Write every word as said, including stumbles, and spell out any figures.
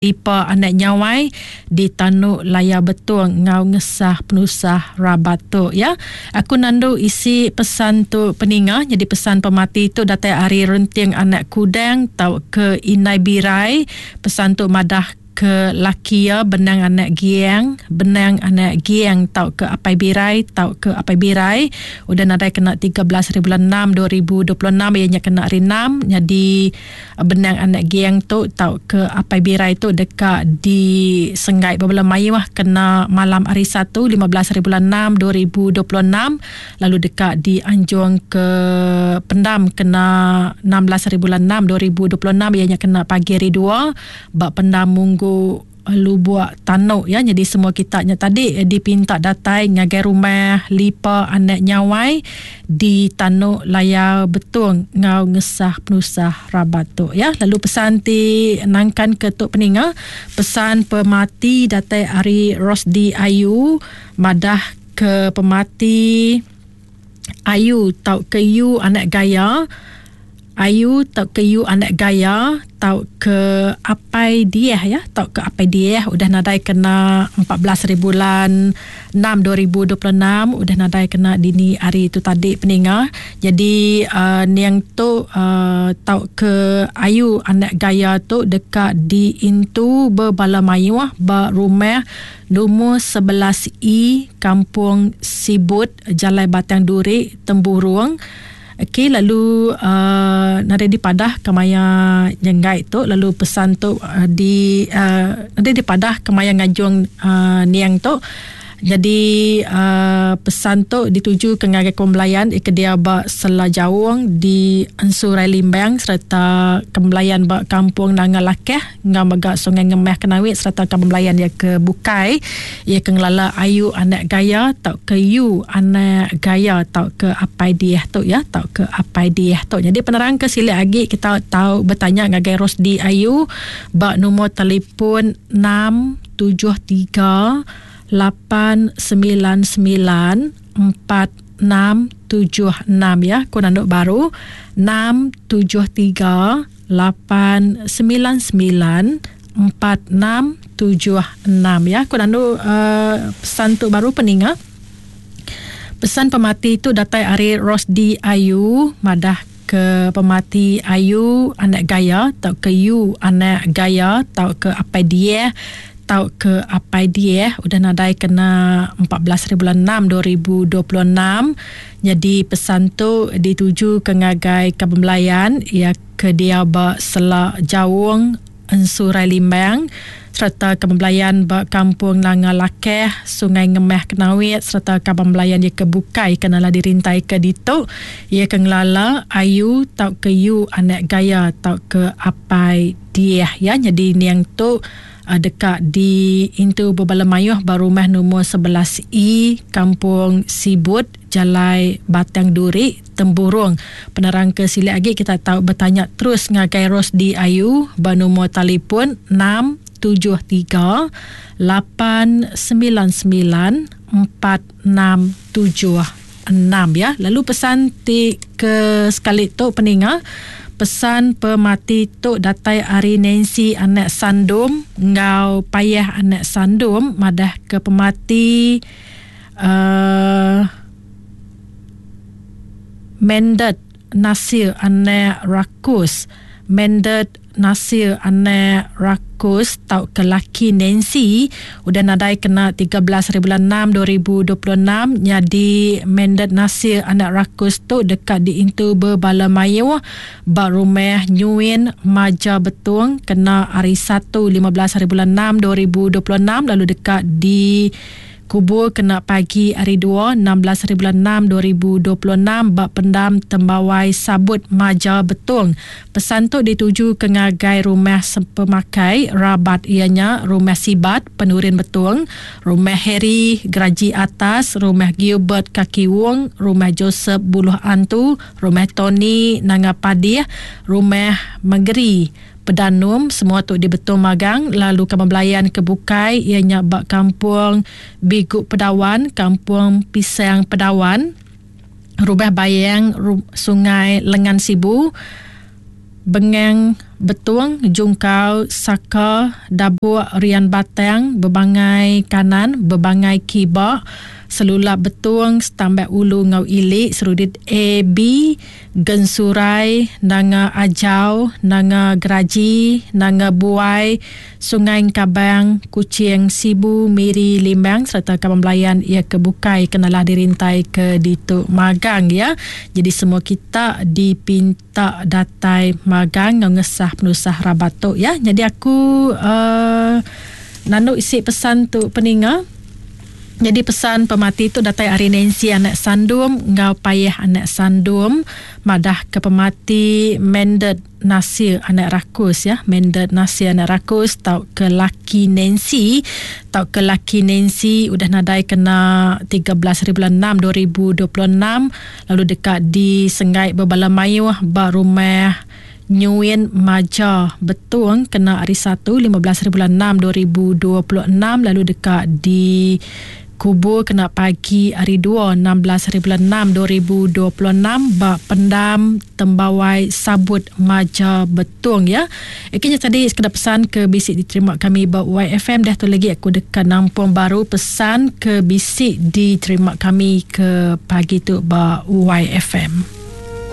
Lipa anak Nyawai di Tanu Layar Betong enggau ngesah penusah rabat tu ya. Aku nandu isi pesan tu peninga nyadi pesan pemati tu datai ari Renting anak Kudang tauka Indai Birai. Pesan tu madah ke laki iya Benang anak Giang, Benang anak Giang tauka Apai Birai tauka Apai Birai udah nadai kena tiga belas hari bulan enam dua ribu dua puluh enam iya nya kena hari enam. Nyadi Benang anak Giang tu tauka Apai Birai tu deka disenggai bebela mayuh kena malam hari Satu lima belas hari bulan enam dua ribu dua puluh enam lalu deka dianjung ke pendam kena enam belas hari bulan enam dua ribu dua puluh enam iya nya kena pagi hari dua ba pendam Munggu Lubuk Tanuk ya. Jadi semua kita nya tadi dipinta datai ngagai rumah Lipa anak Nyawai di Tanuk Layar Betong ngau ngesah penusah rabat tu ya. Lalu pesan ti nangkan ke tu peninga, pesan pemati datai ari Rosdi Ayu madah ke pemati Ayu tau ke yu anak gaya Ayu tau ke yu anak gaya tau ke Apai Dieh ya, tau ke Apai Dieh udah nadai kena empat belas hari bulan enam dua ribu dua puluh enam udah nadai kena dini hari tu tadi peninga. Jadi uh, niang tu uh, tau ke Ayu anak gaya tu deka diintu bebala mayuh ba rumah nombor sebelas E Kampung Sibut Jalai Batang Duri Temburong. Okey, lalu uh, nadai dipadah kemaya nyenggai tu, lalu pesan tu uh, di uh, nadai dipadah kemaya ngajung uh, niang tu. Jadi uh, pesan tu dituju ke ngagai kembelayan ikedia ba Sela Jaung di Ensurai Limbang serta kembelayan ba Kampung Nanga Lakeh ngau mega Sungai Ngemah Kenawit serta kembelayan ia ke Bukai ia ke ngelala Ayu anak gaya tau ke Yu anak gaya tau ke Apai Dieh tu ya, tau ke Apai Dieh tu. Jadi penerang ke silik lagi kita tahu bertanya ngagai Rosdi Ayu ba nombor telefon enam tujuh tiga lapan sembilan sembilan empat enam tujuh enam ya. Ku nanduk baru enam tujuh tiga lapan sembilan sembilan empat enam tujuh enam ya. Ku nanduk uh, pesan tu baru peninga. Pesan pemati tu datai ari Rosdi Ayu madah ke pemati Ayu anak gaya tau ke Yu anak gaya tau ke Apai Dieh tau ke Apai Dieh udah nadai kena empat belas hari bulan enam dua ribu dua puluh enam. Jadi pesan tu dituju ke ngagai kebembelayan ia ke dia ba Sela Jaung Ensurai Limbang serta kebembelayan ba Kampung Nanga Lakeh Sungai Ngemah Kenawit serta kebembelayan ia ke Bukai kenala dirintai ke ditu ia ke ngelala Ayu tau ke Yu anak gaya tau ke Apai Dieh ya. Jadi niang tu dekat di intu bebala mayuh ba rumah nombor sebelas E Kampung Sibut Jalai Batang Duri Temburong. Penerang ke silik lagi kita tahu bertanya terus ngagai Rosdi Ayu ba nombor telefon enam tujuh tiga lapan sembilan sembilan empat enam tujuh enam ya. Lalu pesan ti ke sekali tu peninga, pesan pemati tu datai ari Nancy anak Sandum ngau Payah anak Sandum madah ke pemati uh, Mendet Nasir anak Rakus, Mendet Nasir anak Rakus tau ke laki Nancy udah nadai kena tiga belas hari bulan enam dua ribu dua puluh enam. Jadi Mendet Nasir anak Rakus tu dekat diintu bebala mayuh ba rumah Nyuin Maja Betung kena hari Satu lima belas hari bulan enam dua ribu dua puluh enam lalu dekat di kubur kena pagi hari dua enam belas hari bulan enam dua ribu dua puluh enam ba pendam Tembawai Sabut Maja Betung. Pesan tu dituju ke ngagai rumah pemakai rabat ianya rumah Sibat Penurin Betung, rumah Harry Geraji Atas, rumah Gilbert Kaki Wong, rumah Joseph Buluh Antu, rumah Tony Nanga Padih, rumah Megeri Pedanum, semua tu di Betung Magang. Lalu kebelayan ke Bukai ianya bak Kampung Biguk Pedawan, Kampung Pisang Pedawan, Rumah Bayang Sungai Lengan Sibu, Bengang Betung, Jungkau, Saka, Dabuk, Rian Batang, Bebangai Kanan, Bebangai Kiba, Selulap Betung, Stambak Ulu Ngau Ili, Serudit A B, Gensurai, Nanga Ajau, Nanga Geraji, Nanga Buai, Sungai Kabang, Kuching, Sibu, Miri, Limbang serta kaban belayan ia kebukai kenalah dirintai ke ditu magang ya. Jadi semua kita dipinta datai magang ngau ngesah penusah rabat tu ya. Jadi aku uh, nanu isi pesan tu peninga. Jadi pesan pemati tu datai ari Nancy anak Sandum ngau Payah anak Sandum madah ke pemati Mendet Nasir anak Rakus ya. Mendet Nasir anak Rakus tau ke laki Nancy tau ke laki Nancy udah nadai kena tiga belas hari bulan enam dua ribu dua puluh enam lalu dekat di Sengai Bebala Mayuh ba rumah Nyuin Maja Betung kena hari satu lima belas hari bulan enam dua ribu dua puluh enam lalu dekat di kubur kena pagi hari dua enam belas hari bulan enam dua ribu dua puluh enam ba pendam Tembawai Sabut Maja Betung ya. Okey, tadi sekadar pesan ke bisik diterima kami ba Y F M. Dah tu lagi aku dekat nampung baru pesan ke bisik diterima kami ke pagi tu ba Y F M.